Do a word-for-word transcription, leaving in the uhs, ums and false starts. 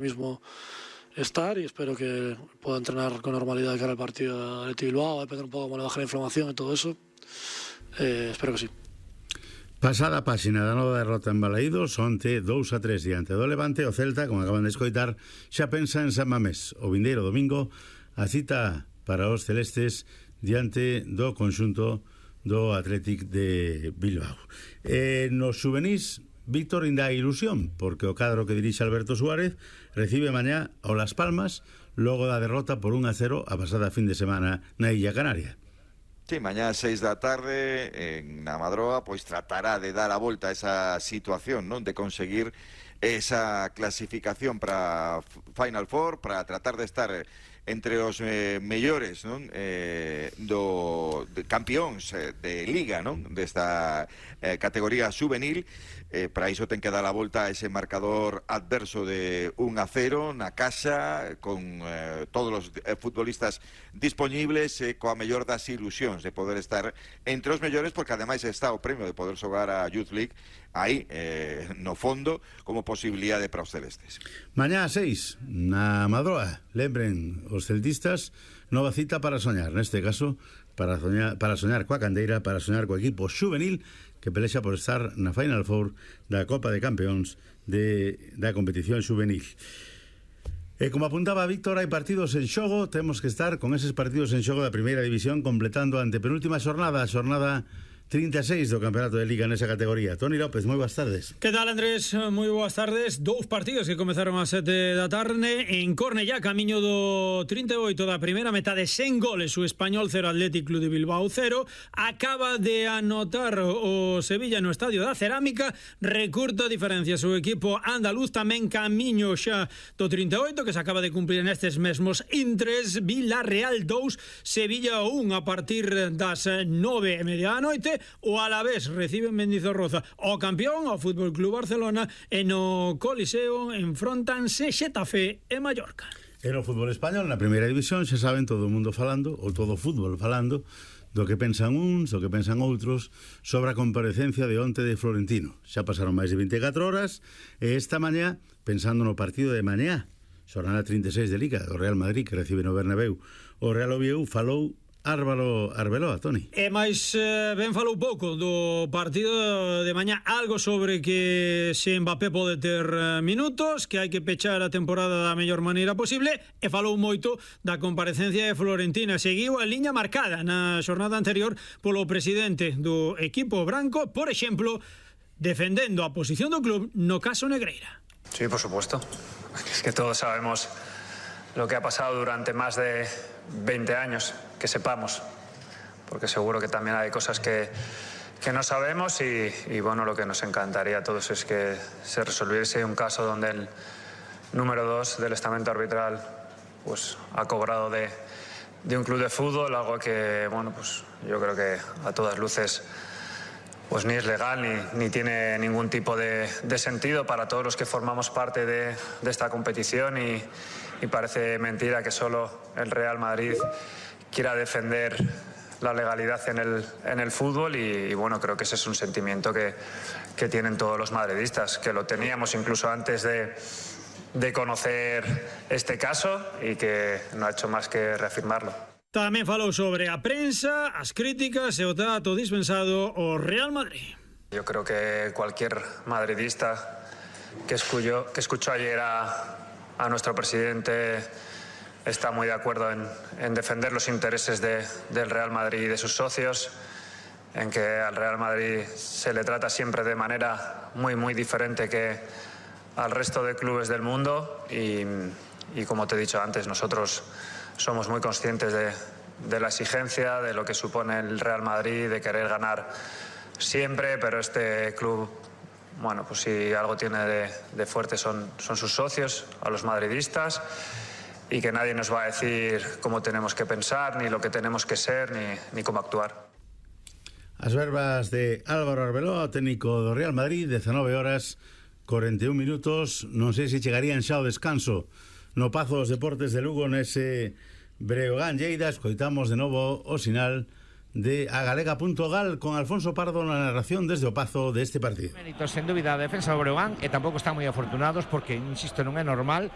mismo estar y espero que pueda entrenar con normalidad de cara al partido de Bilbao, depender un pouco como le baje la inflamación e todo eso. Eh, espero que sí. Pasada a páxina da nova derrota en Balaídos, onte dous a tres diante do Levante, o Celta, como acaban de escoitar, xa pensa en San Mamés. O vindeiro domingo, a cita para os celestes diante do conxunto do Athletic de Bilbao. E nos xuvenís, Víctor, ainda hai ilusión, porque o cadro que dirixe Alberto Suárez recibe mañá ao Las Palmas logo da derrota por un a cero a pasada fin de semana na Illa Canaria. Sí, mañá a seis da tarde en na Madroa pois tratará de dar a volta a esa situación, non, de conseguir esa clasificación para Final Four, para tratar de estar entre os eh, mellores, non, eh, do de campións eh, de Liga, non, desta eh, categoría juvenil. Eh, para iso ten que dar a volta a ese marcador adverso de un a cero na casa, con eh, todos os eh, futbolistas disponibles, eh, coa mellor das ilusións de poder estar entre os mellores, porque ademais está o premio de poder xogar a Youth League aí, eh, no fondo, como posibilidade para os celestes. Mañá a seis, na Madroa, lembren os celtistas, nova cita para soñar, neste caso, para soñar, para soñar coa candeira, para soñar co equipo juvenil que pelexa por estar na Final Four da Copa de Campeóns de, da competición juvenil. E como apuntaba Víctor, hai partidos en xogo, temos que estar con eses partidos en xogo da primeira división completando a antepenúltima xornada, a xornada trinta e seis do Campeonato de Liga nesa categoría. Toni López, moi boas tardes. Que tal, Andrés? Moi boas tardes. Dous partidos que comezaron a sete da tarde en Cornellá, camiño do trinta e oito da primeira metade, sen goles. O Español cero, Athletic Club de Bilbao cero. Acaba de anotar o Sevilla no Estadio da Cerámica, recurta diferencias o equipo andaluz, tamén camiño xa do trinta e oito, que se acaba de cumplir nestes mesmos intres. Villarreal dous, Sevilla un, a partir das nove e media da noite. O Alavés recibe en Mendizorroza o campeón, o Fútbol Club Barcelona, e no Coliseo enfrontanse Xetafe e Mallorca. E no fútbol español, na primeira división, xa saben, todo o mundo falando, ou todo o fútbol falando, do que pensan uns, do que pensan outros, sobre a comparecencia de onte de Florentino. Xa pasaron máis de veinticatro horas, e esta mañá, pensando no partido de mañá, xornada trinta e seis de Liga, do Real Madrid, que recibe no Bernabéu, o Real Oviedo falou Árbalo Arbeloa, Toni. E máis eh, ben falou pouco do partido de mañá, algo sobre que se Mbappé pode ter eh, minutos, que hai que pechar a temporada da mellor maneira posible, e falou moito da comparecencia de Florentina. Seguiu a liña marcada na xornada anterior polo presidente do equipo branco, por exemplo, defendendo a posición do club no caso Negreira. Sí, por supuesto. Es que todos sabemos lo que ha pasado durante más de veinte años, que sepamos, porque seguro que también hay cosas que, que no sabemos y, y bueno, lo que nos encantaría a todos es que se resolviese un caso donde el número dos del estamento arbitral pues ha cobrado de, de un club de fútbol, algo que bueno, pues yo creo que a todas luces pues ni es legal ni, ni tiene ningún tipo de, de sentido para todos los que formamos parte de, de esta competición y, y parece mentira que solo el Real Madrid quiera defender la legalidad en el, en el fútbol y, y bueno, creo que ese es un sentimiento que, que tienen todos los madridistas, que lo teníamos incluso antes de, de conocer este caso y que no ha hecho más que reafirmarlo. Tamén falou sobre a prensa, as críticas e o trato dispensado ao Real Madrid. Yo creo que cualquier madridista que escuchó, que escuchó ayer a, a nuestro presidente está muy de acuerdo en, en defender los intereses de, del Real Madrid y de sus socios, en que al Real Madrid se le trata siempre de manera muy, muy diferente que al resto de clubes del mundo y, y como te he dicho antes, nosotros somos muy conscientes de, de la exigencia, de lo que supone el Real Madrid, de querer ganar siempre, pero este club, bueno, pues si algo tiene de, de fuerte son, son sus socios, a los madridistas, y que nadie nos va a decir cómo tenemos que pensar, ni lo que tenemos que ser, ni, ni cómo actuar. As verbas de Álvaro Arbeloa, técnico do Real Madrid, dezanove horas, cuarenta y un minutos, non sei se chegarían xa ao descanso no Pazo dos Deportes de Lugo nese Breogán Lleida. Escoitamos de novo o sinal de agalega punto gal con Alfonso Pardo na narración desde o Pazo de este partido. Méritos, sen dúbida, a defensa do Breogán, e tampouco están moi afortunados porque, insisto, non é normal